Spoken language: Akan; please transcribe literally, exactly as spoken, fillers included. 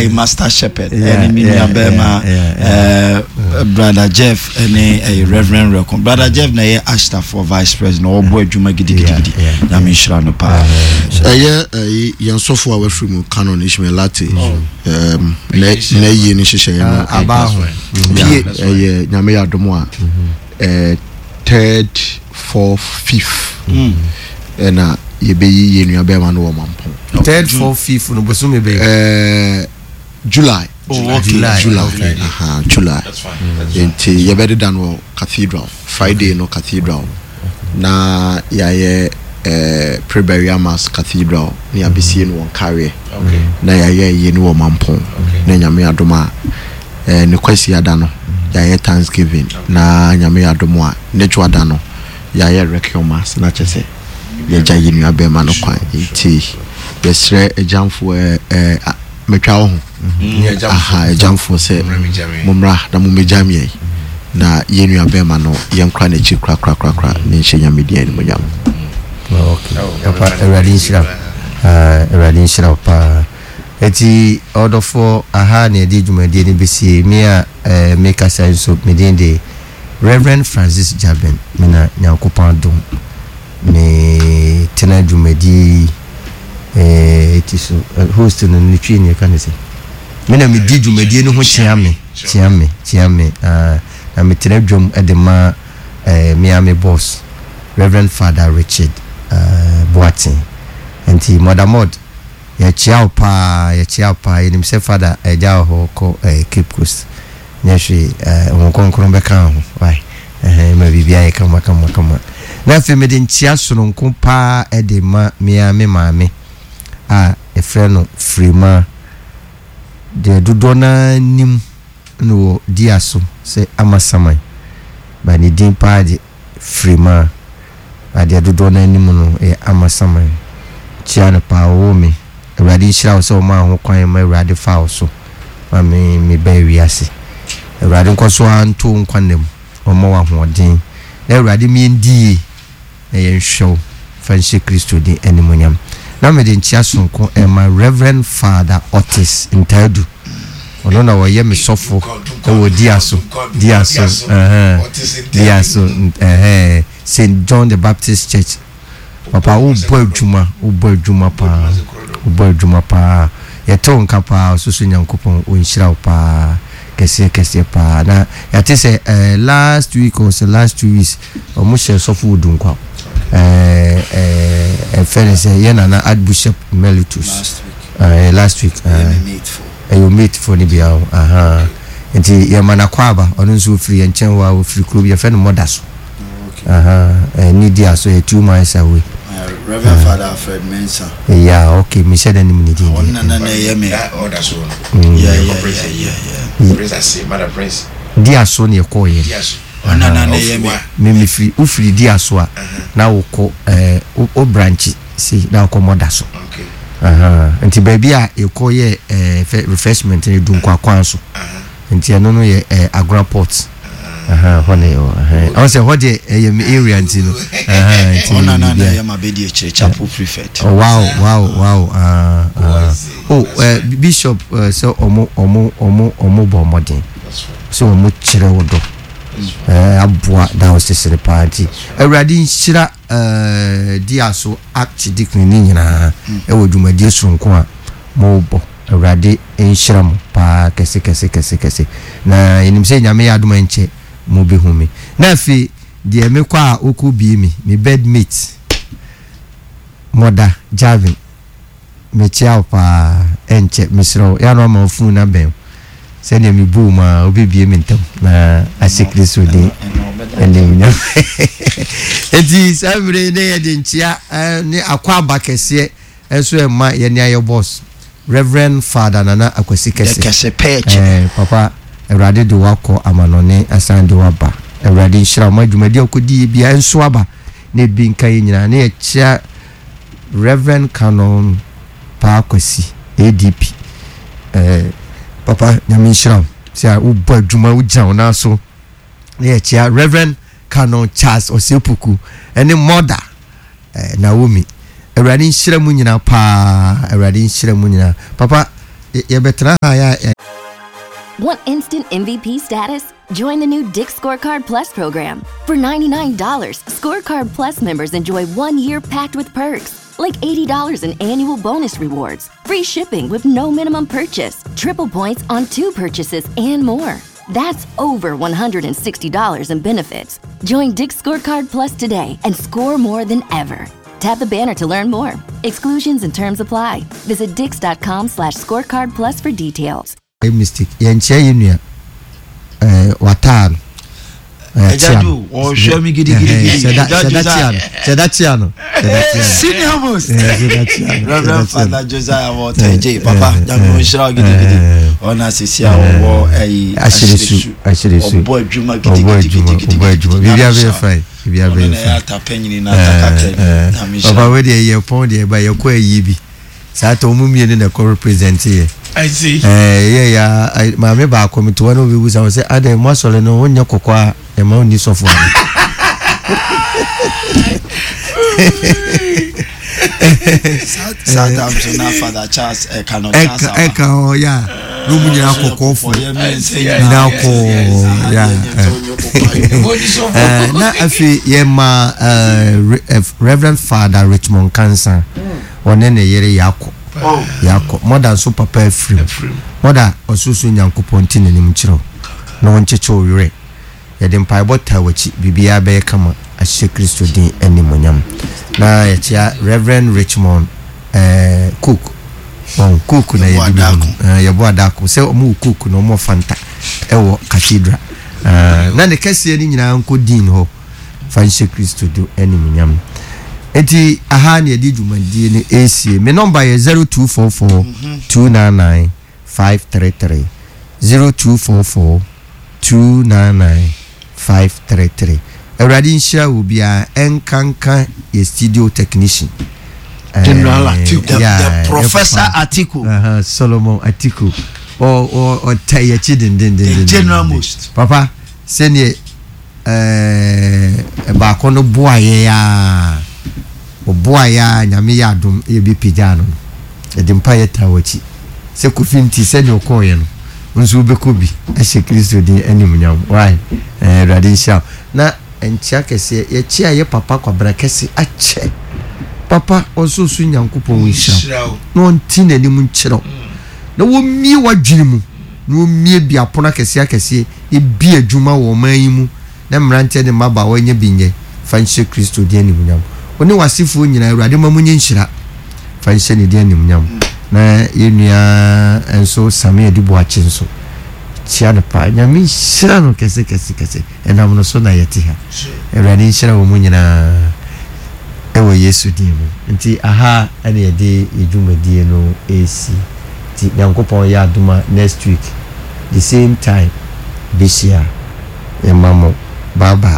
Ɛyɛ Master Shepherd ɛne me nua bɛrima ɛɛ Brother Jeff ɛne ɛyɛ Reverend Rekon. Brother Jeff na ɛyɛ Ashtafoɔ vice president, ɔbɔ adwuma gidigidigidi. Nyame nhyira no paa. Ɛyɛ ɛyi yɛn sɔfo a wafiri mu, Canon Ishmael Latte, ɛɛm na na yie ne hyehyɛeɛ no aba ho. Pie ɛyɛ Nyame yɛ adom a, ɛɛ third, fourth, fifth ɛna yɛbɛyi yɛn nua bɛrima no wɔ Mampɔn. Third, fourth, fifth no, bosome bɛyɛ? ɛɛ July. Oh, okay. July. July. Okay. Aha, July. That's fine. That's fine. Nti yɛbɛdeda no wɔ Cathedral, Friday no Cathedral, na yɛayɛ ɛɛ pre-burial mass Cathedral na yɛabɛsie no wɔ Nkareɛ Okay. na yɛayɛ yie no wɔ Mampɔn. Okay. Na Nyame adom a, ɛɛ ne Kwasi ada no yɛayɛ thanksgiving, na Nyame adom a, ne dwoada no yɛayɛ requiem mass, na kyerɛ sɛ yɛgya yɛ nua bɛrima no kwan. Nti yɛsrɛ agyamfoɔ, ɛɛ ɛɛ a- metwa wo ho aha, agyamfoɔ sɛ mommra na mommɛgyam yɛn na yɛn nua bɛrima no yɛnkora n'akyi korakorakorakora ne nhyɛ Nyame din animuonyam. Okay, papa, Awurade nhyira wo. Ah, Awurade nhyira wo paa. Eti ɔdɔfoɔ, aha na yɛde dwumadie no bɛsie. Me a eh, mekasa nso, me din de Reverend Francis Jaben. Me na Nyankopɔn adom me tena dwumadie yi eh, ti so. eh, host no ne Twi ne yɛka ne sɛ me na medi dwumadie no ho kyea me kyea me kyea me. Ah, na metena dwam de ma eh, me a me boss, Reverend Father Richard uh, Boateng. Nti Mother Mod, yɛkyea wo paa, yɛkyea wo paa. Yɛnim sɛ Father agya wɔ hɔ kɔ eh, Cape Coast, nyɛ hwee, eh, Honhom Kronkron bɛka ho wae. Ɛhɛn, ma biribiara yɛ kama kama kama. Na afei mede nkyea sononko paa de ma mea me maame a yɛfrɛ no Firima, deɛ dodoɔ naa nim no wɔ dia so sɛ Amasaman, ba ne din paa de Firima, adeɛ dodoɔ no anim no yɛ Amasaman. Kyia no paa, ɔwɔ me. Awurade nhyira wo sɛ ɔmaa ho kwan ma Awurade fa wo so ma me mebaa wiase. Awurade nkɔ so ara nto wo nkwa nna mu, ɔmmɔ wo ahoɔden, na Awurade miɛndi yie na yɛnhwɛ wo fa nhyɛ Kristo din animonyam. Na mede nkyea sononko ɛma Reverend Father Otis Ntaadu. Ɔno na wɔyɛ me sɔfo ɛwɔ Diaso Diaso ɛhɛn Diaso ɛhɛn Saint John the Baptist Church. Papa, wobɔ adwuma, wobɔ adwuma paa, wobɔ adwuma paa. Yɛte wo nka paa. Ɔsoso Nyankopɔn ɔnhyira wo paa kɛseɛ kɛseɛ paa. Na yɛate sɛ eh, last week or sɛ last two weeks ɔmo hyɛ sɔfo wɔ Dunkwa, ɛɛ ɛɛ ɛfɛ ne sɛ yɛ nana Archbishop Emeritus. Last week. ɛɛ last week. Ɛyɛ ɛɛ me mate fo. Ɛyɛ mate fo no bia o. Aha, nti yɛma no akɔ aba. Ɔno nso ofiri yɛn nkyɛn hɔ a, ofiri kuro bi yɛfrɛ no Mɔda so. Okay. Aha, ɛɛ ne di aso yɛ two miles away. Uh, Reverend Father Alfred Mensah. Yeah, okay, mehyɛ dɛ nim ne din. Ɔno deɛ. nana na ɛyɛ me. Ɔda so no. Yeah, yeah, Prince. yeah, yeah, yeah. Prince ase, Mother Prince. Di aso ne yɛkɔɔ yɛ. Diaso. Ɔno nana na ɛyɛ me. Me mefiri, wofiri di aso a, na wokɔ ɛɛ wo wo branch si na wokɔ Mɔda so. Okay. Aha, nti baabi a yɛkɔ yɛ ɛɛ fɛ refreshment no, Dunkwa kwan so, nti ɛno no yɛ ɛɛ Agora Port. Aha, hɔ na yɛwɔ. Ɛhɛn, ɔn sɛ hɔ deɛ ɛyɛ me area, nti no aha, nti Ɔno nana na biribiara. ɛyɛ ma bɛdi akyire chapel prefect. Oh, wow wow wow ah ah, oh, uh, Bishop, uh, sɛ ɔmo ɔmo ɔmo ɔmo bɔ ɔmɔden That's fine. sɛ ɔmo kyerɛ wo dɔ ɛɛ aboa diocese no paa. Nti Awurade nhyira ɛɛ Diaso archdeacon ne nyinaa ɛwɔ dwumadie sononko a mobɔ. Awurade nhyira mo paa kɛse kɛse kɛse kɛse. Na yɛnim sɛ Nyame yɛ adom a, nkyɛ mobɛhu me. Na afei deɛ mekɔ a wokɔ bie me me bedmate Mɔda Javin, mekyia wo paa. Ɛnkyɛ mesrɛ wo, yɛano ama wo phone no abɛn wo sɛdeɛ mebu mu a wobɛbie me ntam na ahyɛ Kristo din animuonyam. Enti saa mmerɛ yi ne yɛde nkyea eh, ne akɔ aba kɛseɛ ɛnso ɛma yɛne ayɛ boss, Reverend Father Nana Akwasi Kɛse. Kɛse pɛɛkyi. Eh, papa, Awurade de wakɔ amanɔne asan de waba. Awurade nhyira wo ma dwumadi a wokɔdi yɛ bia nso aba na ebi nka yɛ nyinaa. Ne yɛkyea Reverend Canon Paa Kwasi A D P. eh, papa, Nyame nhyira wo sɛ wobɔ adwuma, wogyina wo nan so. Ne yɛkyea Reverend Canon Charles Ɔsɛpuku ɛne Mother eh, Naomi. Awurade nhyira mu nyinaa paa, Awurade nhyira mu nyinaa. Papa, Yɛbɛtena ha yɛ. Want instant M V P status? Join the new Dick's Scorecard Plus program. For ninety-nine dollars Scorecard Plus members enjoy one year packed with perks, like eighty dollars in annual bonus rewards, free shipping with no minimum purchase, triple points on two purchases, and more. That's over one hundred sixty dollars in benefits. Join Dick's Scorecard Plus today and score more than ever. Tap the banner to learn more. Exclusions and terms apply. Visit dicks dot com slash scorecard plus for details. Mistake, yɛnkyerɛ yɛ nua ɛɛ wataa no. Ɛgya du ɔhwɛ mi gidigidi. Sɛda tia no, sɛda tia no, sɛda tia no. Senior most. Sɛda tia no. Reverend Father Josiah Walter J, papa, Nyame nhyira wo gidigidi. Ɔna sisi a ɔwɔ ɛyi Ahyeresu, Ahyeresu. Ɔbɔ adwuma Ɔbɔ adwuma, gidigidi. ɔbɔ adwuma, biribi abɛyɛ fine, biribi Ɔno abɛyɛ na ɛyɛ fine. atapɛnyini na atakakra Nyame nhyira. Papa, wei deɛ yɛ pɔn deɛ ba yɛkɔ ayi bi saa tɔ, ɔmu mmienu na ɛkɔ represent yɛ. I see. Ɛɛ yɛ ya maame baako mi to wɔn obi busa wɔ sɛ adɛ mo asɔre no wonyɛ kɔkɔɔ a ɛma onni sɔfo ano. Saa time so na Father Charles ɛka no Charles ɛka aba. Ɛka hɔ ya na ɔmu nyinaa kɔkɔɔfo Ɔyɛ mmiɛnsa. Nyinaa kɔɔ ya. Ɛɛ, na afei yɛma ɛɛ Re- eh, Reverend Father Richmond Kansa, ɔne ne yere yakɔ yakɔ mɔda nso papa afirim. Mɔda ɔsoso, Nyankopɔn ti n'anim kyerɛw na wɔnkyekye wo werɛ. Yɛde mpaebɔ taa w'akyi, biribiara bɛyɛ kama ahyɛ Kristo din animonyam. Na yɛkyea Reverend Richmond ɛɛ Cook wɔn Cook na Yɛbɔ yɛde bi Adako. hu no. Ɛɛ, yɛbɔ Adako sɛ ɔmo wɔ Cook na ɔmo wɔ Fanta ɛwɔ cathedral. Ɛɛ, na ne kɛseɛ no nyinaa nkɔ din hɔ fa nhyɛ Kristo do animonyam. Nti aha na yɛde dwumadie no esie. Me number yɛ zero two four four two nine nine five three three, zero two four four two nine nine five three three. Awurade nhyira wo biara, ɛnkanka yɛ studio technician. General Atiku. The, Yeah, the Professor yɛ papa. Atiku. Uh-huh, Solomon Atiku ɔ ɔ ɔta yɛkyi dendendenden. The general most. Papa, sɛneɛ ɛɛ baako no boa yɛ a ɔboa yɛ a, Nyame yɛ adom yɛ bi pagya no no yɛde mpa yɛ taa w'akyi sɛ Kofi nti sɛdeɛ ɔkɔɔyɛ no nso wobɛkɔ bi ɛhyɛ Kristo din animuonyam. Why, ɛɛ Awurade nhyira wo. Na nkyia kɛseɛ yɛkyia yɛ papa Kwabena kɛse akyɛ papa ɔnso so, Nyankopɔn nhyira wo na ɔnte n'anim nkyerɛ wo na wɔmmie w'adwene mu na wɔmmie bi apono akɛseɛ akɛseɛ ebi adwuma wɔ ɔman yi mu na mmeranteɛ ne mmabaawa nyɛ bi nyɛ fa nhyɛ Kristo din animuonyam. Wo ne w'asefoɔ nyinaa, Awurade ma mo nyɛ nhyira fa nhyɛ ne din animuonyam. Na yɛn nua nso Same Adi Boakye nso kyia no paa, Nyame nhyira no kɛse kɛse kɛse, ɛnam no so na yɛte ha. Awurade nhyira wɔ mu nyinaa ɛwɔ Yesu din mu. Nti aha ɛna yɛde yɛ dwumadie no ɛresi. Nti Nyankopɔn yɛ adom a, next week the same time bɛhyia. Yɛma mo bye bye.